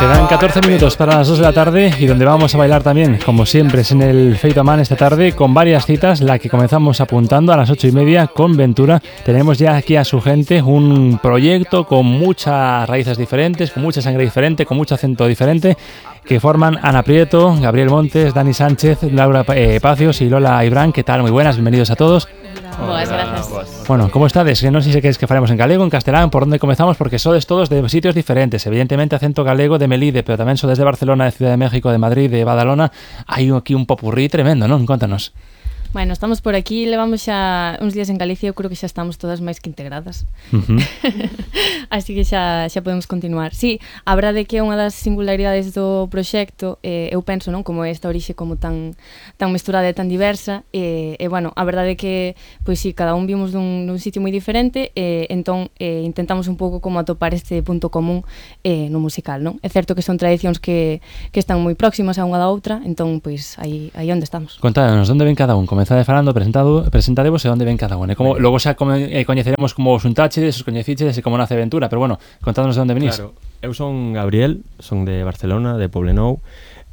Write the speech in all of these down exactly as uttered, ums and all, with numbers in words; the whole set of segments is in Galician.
Quedan catorce minutos para las dos de la tarde y donde vamos a bailar también, como siempre, es en el Feito a Man esta tarde con varias citas, la que comenzamos apuntando a las ocho y media con Ventura. Tenemos ya aquí a su gente un proyecto con muchas raíces diferentes, con mucha sangre diferente, con mucho acento diferente, que forman Ana Prieto, Gabriel Montes, Dani Sánchez, Laura eh, Pacios y Lola Ibrán. ¿Qué tal? Muy buenas, bienvenidos a todos. Boas, gracias. Bueno, ¿cómo estades? Que non sei se queres que faremos en galego, en castelán, por onde comezamos, porque sodes todos de sitios diferentes. Evidentemente, acento galego de Melide, pero tamén sodes de Barcelona, de Ciudad de México, de Madrid, de Badalona. Hai aquí un popurrí tremendo, non? Contanos. Bueno, estamos por aquí, levamos xa uns días en Galicia, eu creo que xa estamos todas máis que integradas. Uh-huh. Así que xa, xa podemos continuar. Sí, a verdade que é unha das singularidades do proxecto, eh, eu penso, non, como esta orixe como tan tan mesturada e tan diversa, e, eh, eh, bueno, a verdade que, pois sí, cada un vimos dun, dun sitio moi diferente, e eh, entón eh, intentamos un pouco como atopar este punto común eh, no musical, non? É certo que son tradicións que, que están moi próximas a unha da outra, entón, pois, aí, aí onde estamos. Contádanos, onde ven cada un? Comezade falando, presentado, presentadevos e onde ven cada un. E como, logo xa come, eh, coñeceremos como os untáchedes, os coñecichedes e como nace Ventura, pero bueno, contádanos de onde venís. Claro, eu son Gabriel, son de Barcelona, de Poblenou,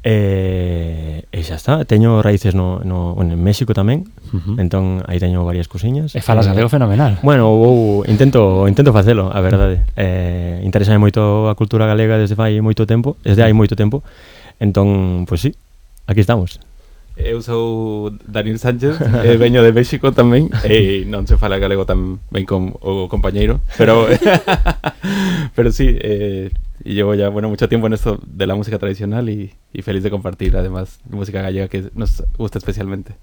e, e xa está, teño raíces no, no, bueno, en México tamén, uh-huh. Entón aí teño varias cousiñas. E falas galego fenomenal. Bueno, ou, intento intento facelo, a verdade. Eh, interésame moito a cultura galega desde fai moito tempo, desde hai moito tempo. Entón, pois pues sí, aquí estamos. Eu sou Daniel Sánchez, e veño de México tamén, e non se fala galego tan ben como o compañeiro, pero pero sí, eh, y llevo ya bueno mucho tiempo en esto de la música tradicional y, y feliz de compartir además música gallega que nos gusta especialmente.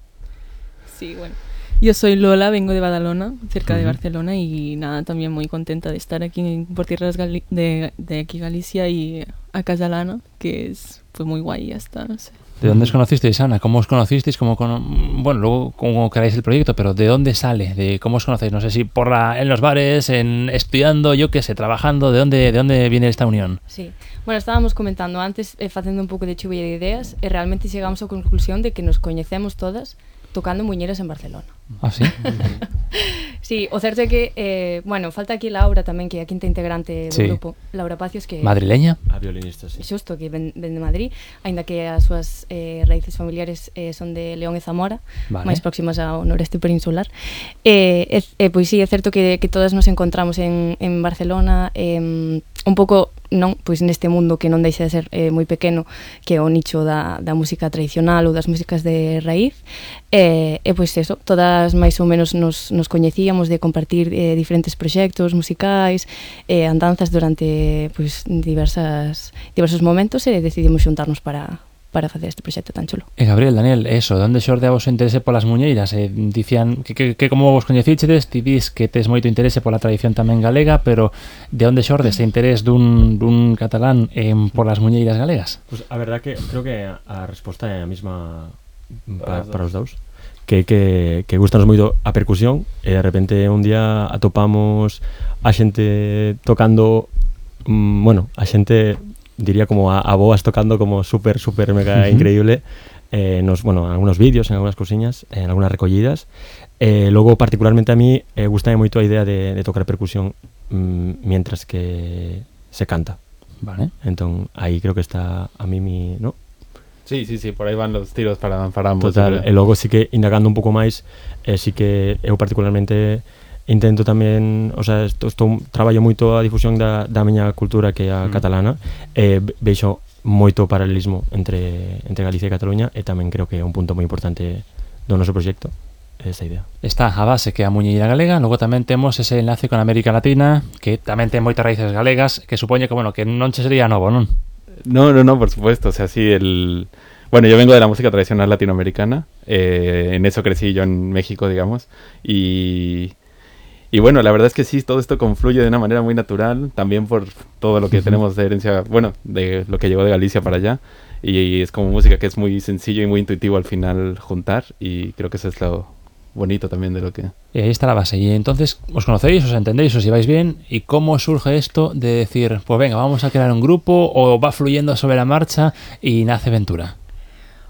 Sí, bueno. Yo soy Lola, vengo de Badalona, cerca uh-huh. de Barcelona, y nada, también muy contenta de estar aquí por tierras gali- de, de aquí Galicia y a Casalana, que es fue muy guay, ya está, no sé. ¿De dónde os conocisteis, Ana? ¿Cómo os conocisteis? ¿Cómo con... Bueno, luego cómo creáis el proyecto, pero ¿de dónde sale? ¿De cómo os conocéis? No sé si por la, en los bares, en estudiando, yo qué sé, trabajando. ¿De dónde, de dónde viene esta unión? Sí, bueno, estábamos comentando antes, eh, facendo un pouco de chuvia de ideas, e realmente chegamos á conclusión de que nos coñecemos todas tocando muñeiras en Barcelona. Ah, sí? Sí, o certo é que, eh, bueno, falta aquí Laura tamén, que é a quinta integrante do sí. grupo, Laura Pacios, que madrileña, a violinista, sí. Xusto, que ven, ven de Madrid, aínda que as súas eh, raíces familiares eh, son de León e Zamora, vale. máis próximas ao noreste peninsular. E, eh, eh, pois sí, é certo que, que todas nos encontramos en, en Barcelona, eh, un pouco, non, pois neste mundo que non deixa de ser eh, moi pequeno, que é o nicho da, da música tradicional ou das músicas de raíz, e, e pois eso, todas máis ou menos nos, nos coñecíamos de compartir eh, diferentes proxectos musicais, eh, andanzas durante pois diversas diversos momentos, e decidimos xuntarnos para para facer este proxecto tan chulo. E Gabriel, Daniel, eso, onde xorde a vos o interese polas muñeiras? Eh, dicían que, que, que como vos coñecichedes, ti dis que tes moito interese pola tradición tamén galega, pero de onde xorde este interés dun, dun catalán eh, polas muñeiras galegas? Pues a verdad que creo que a resposta é a mesma para, para os dous. Que, que, que gustanos moito a percusión, e de repente un día atopamos a xente tocando, mmm, bueno, a xente diría como a, a boas tocando como super, super mega uh-huh. increíble, eh, nos, bueno, en algunos vídeos, en algunas cousiñas, en algunas recollidas. Eh, logo, particularmente a mí, eh, gustame moito a idea de, de tocar percusión mmm, mientras que se canta. Vale. Entón, aí creo que está a mí mi, ¿no? Sí, sí, sí, por aí van los tiros para, para ambos. Total, e logo sí que indagando un pouco máis, eh, sí que eu particularmente intento tamén, o sea, estou, estou traballo moito a difusión da, da miña cultura, que é a mm. catalana, e veixo moito paralelismo entre, entre Galicia e Cataluña, e tamén creo que é un punto moi importante do noso proxecto, esta idea. Está a base que é a muñeira galega, logo tamén temos ese enlace con América Latina, que tamén ten moitas raíces galegas, que supoñe que, bueno, que non che sería novo, non? No, no, no, por supuesto, o sea, sí, el... Bueno, yo vengo de la música tradicional latinoamericana, eh, en eso crecí yo en México, digamos, y... Y bueno, la verdad es que sí, todo esto confluye de una manera muy natural, también por todo lo que uh-huh. tenemos de herencia, bueno, de lo que llegó de Galicia para allá, y, y es como música que es muy sencillo y muy intuitivo al final juntar, y creo que eso es lo bonito también de lo que... Y ahí está la base, y entonces os conocéis, os entendéis, os lleváis bien, y cómo surge esto de decir, pues venga, vamos a crear un grupo, o va fluyendo sobre la marcha y nace Ventura.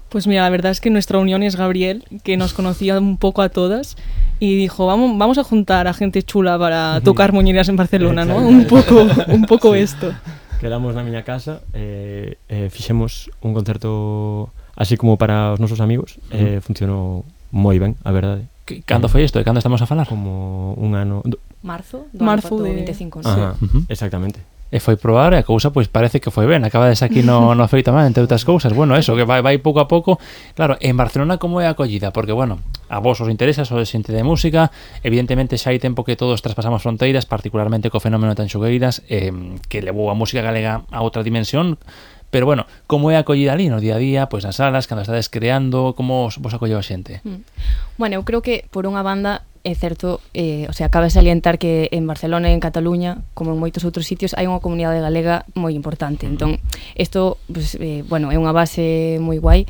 Pues mira, la verdad es que nuestra unión es Gabriel, que nos conocía un poco a todas y dijo, vamos, vamos a juntar a gente chula para tocar muñeiras en Barcelona, ¿no? Un poco, un poco sí. esto. quedamos na miña casa, eh, eh, fixemos un concerto así como para os nosos amigos, eh, funcionou moi ben, a verdade. Que, cando foi isto? De cando estamos a falar? Como un ano... do- Marzo, do Marzo ano de- vinte e cinco, non? Ajá, Ujú. exactamente. E foi probar e a cousa pois parece que foi ben. Acabades aquí no, no Feito Man, entre outras cousas. Bueno, eso, que vai, vai pouco a pouco. Claro, en Barcelona como é a acollida? Porque, bueno, a vos os interesa, sois xente de música. Evidentemente xa hai tempo que todos traspasamos fronteiras, particularmente co fenómeno de Tanxugueiras, eh, que levou a música galega a outra dimensión. Pero, bueno, como é a acollida ali no día a día, pois nas salas, cando estades creando, como vos acolleu a xente? Mm. Bueno, eu creo que por unha banda é certo, eh, o sea, cabe salientar que en Barcelona e en Cataluña, como en moitos outros sitios, hai unha comunidade galega moi importante. Entón, isto, pues, eh, bueno, é unha base moi guai,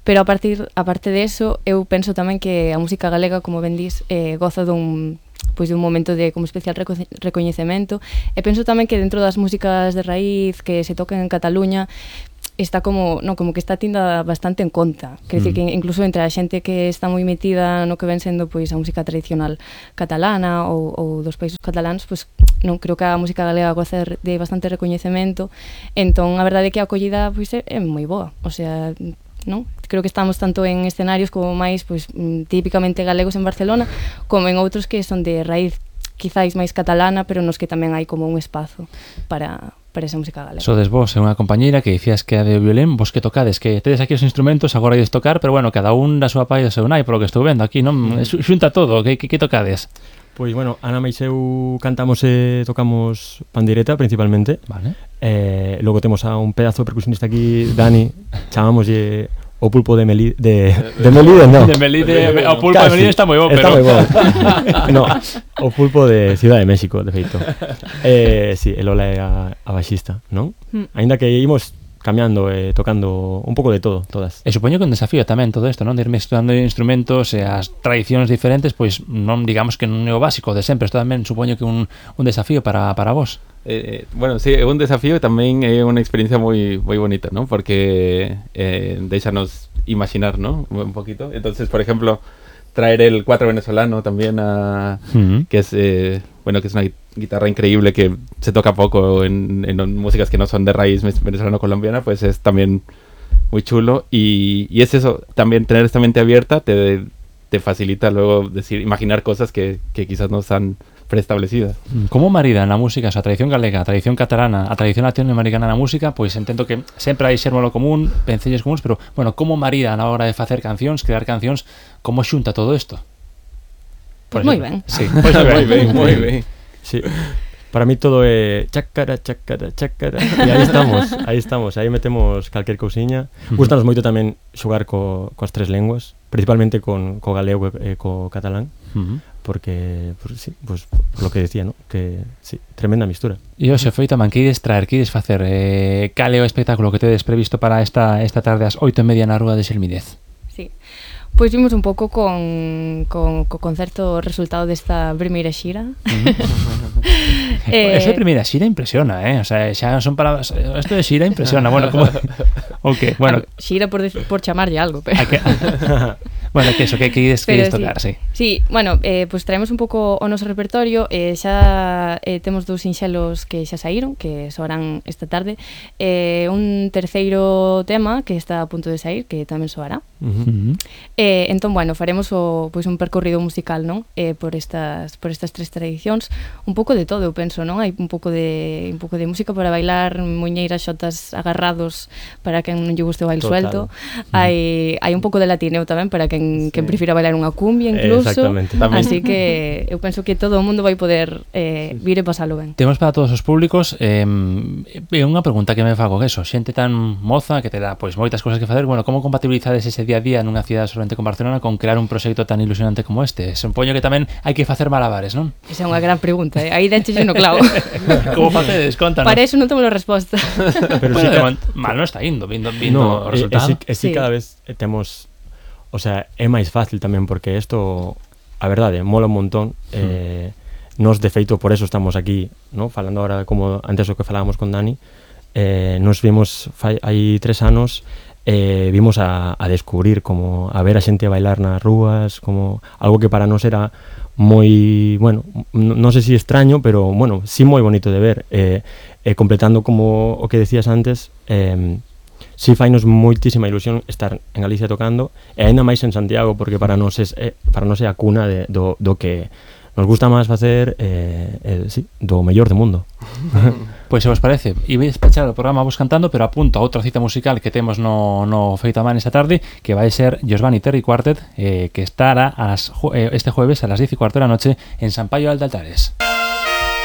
pero a partir a parte de eso, eu penso tamén que a música galega, como ben dis, eh, goza dun pois de un momento de como especial reco recoñecemento, e penso tamén que dentro das músicas de raíz que se tocan en Cataluña está como, no, como que está tinda bastante en conta. Quer dicir que incluso entre a xente que está moi metida no que ven sendo pois a música tradicional catalana ou, ou dos países cataláns, pois non creo que a música galega goza de bastante recoñecemento. Entón, a verdade é que a acollida pois é, é moi boa. O sea, non? Creo que estamos tanto en escenarios como máis pois típicamente galegos en Barcelona, como en outros que son de raíz quizáis máis catalana, pero nos que tamén hai como un espazo para para esa música galega. Sodes vos e unha compañeira que dicías que é de violín, vos que tocades, que tedes aquí os instrumentos, agora ides tocar, pero bueno, cada un da súa pai e do seu nai, polo que estou vendo aquí, non? Xunta todo, que, que, que tocades? Pois, bueno, Ana e eu cantamos e tocamos pandireta, principalmente. Vale. Eh, logo temos a un pedazo de percusionista aquí, Dani, chamámoslle o pulpo de Melide, de, de Melide, no. De Melide, o pulpo Casi. de Melide está moi bo, Está pero... moi bo. No, o pulpo de Ciudad de México, de feito. Eh, si, sí, el Ola é a, a baixista, non? Mm. Ainda que imos cambiando e eh, tocando un pouco de todo, todas. E supoño que un desafío tamén todo isto, non? De ir mezclando instrumentos e as tradicións diferentes, pois non digamos que non é o básico de sempre, isto tamén supoño que un, un desafío para, para vos. Eh, bueno, sí, é un desafío e tamén é unha experiencia moi moi bonita, ¿no? Porque eh, déixanos imaginar, ¿no? Un poquito. Entonces, por ejemplo, traer el cuatro venezolano también a Uh-huh. que es eh, bueno, que es una guitarra increíble que se toca poco en, en músicas que no son de raíz venezolano-colombiana, pues es también muy chulo y, y es eso, también tener esta mente abierta te, te facilita luego decir, imaginar cosas que, que quizás no están preestablecidas. Como maridan a música, a tradición galega, a tradición catalana, a tradición latinoamericana na música, pois entendo que sempre hai xérmolo común, pencellos comuns, pero, bueno, como maridan a hora de facer cancións, crear cancións, como xunta todo isto? Pois moi ben. Sí, pois moi ben, muy bien. Sí. Para mí todo é chácara, chácara, chácara. E aí estamos, aí estamos, aí metemos calquer cousiña. Gustanos moito tamén xogar co, coas tres lenguas, principalmente con co galego e co catalán. Uh-huh. Porque, pues, sí, pues, por lo que decía, ¿no? Que, sí, tremenda mistura. E hoxe, Feito Man, que ides traer, que ides facer? Eh, cal é o espectáculo que tedes previsto para esta esta tarde ás oito e media na Rúa de Xelmídez? Sí. Pois vimos un pouco con, con co concerto resultado desta primeira xira. eh, Esa primeira xira impresiona, eh? O sea, xa son palabras... Esto de xira impresiona, bueno, como... O que, bueno... Xira por, por chamarlle algo, pero... Que... Bueno, que eso, que, que ides, que ides tocar, sí. Sí, bueno, eh, pues traemos un pouco o noso repertorio, eh, xa eh, temos dous sinxelos que xa saíron, que soarán esta tarde, eh, un terceiro tema que está a punto de sair, que tamén soará. Uh-huh. Eh, entón, bueno, faremos o, pois un percorrido musical, non? Eh, por estas por estas tres tradicións, un pouco de todo, eu penso, non? Hai un pouco de un pouco de música para bailar, muñeiras, xotas agarrados para quen non lle guste o baile suelto. Hai hai un pouco de latineo tamén para quen Sí. quen prefira bailar unha cumbia incluso. Exactamente. Tamén. Así que eu penso que todo o mundo vai poder eh, vir e pasalo ben. Temos para todos os públicos eh, é unha pregunta que me fago que eso, xente tan moza que te dá pois moitas cousas que facer, bueno, como compatibilizades ese día a día nunha cidade solamente con Barcelona con crear un proxecto tan ilusionante como este? Supoño que tamén hai que facer malabares, non? Esa é unha gran pregunta, eh? Aí denche no clavo. Como facedes? Contanos. Para eso non temos a resposta. Pero Bueno, sí, de ca- momento, mal non está indo, vindo, vindo o no, e, e resultado. sí, e sí, Sí. cada vez eh, temos, o sea, é máis fácil tamén porque isto, a verdade, mola un montón. Eh, nos de feito por eso estamos aquí, ¿no? Falando ahora como antes o que falábamos con Dani. Eh, nos vimos fai, hai tres anos eh, vimos a, a descubrir, como a ver a xente bailar nas rúas, como algo que para nós era moi, bueno, non sei se extraño, pero, bueno, sí moi bonito de ver. Eh, eh, completando como o que decías antes, eh, sí fainos moitísima ilusión estar en Galicia tocando, e aínda máis en Santiago, porque para nós é, eh, para nós é a cuna de, do, do que nos gusta máis facer, eh, eh, sí, do mellor do mundo. Pois se vos parece, iba a despachar o programa vos cantando, pero apunto a outra cita musical que temos no, no Feito a Man esta tarde, que vai ser Giovanni Terry Quartet, eh, que estará as, eh, este jueves a las diez y cuarto de la noche en San Paio de Altares.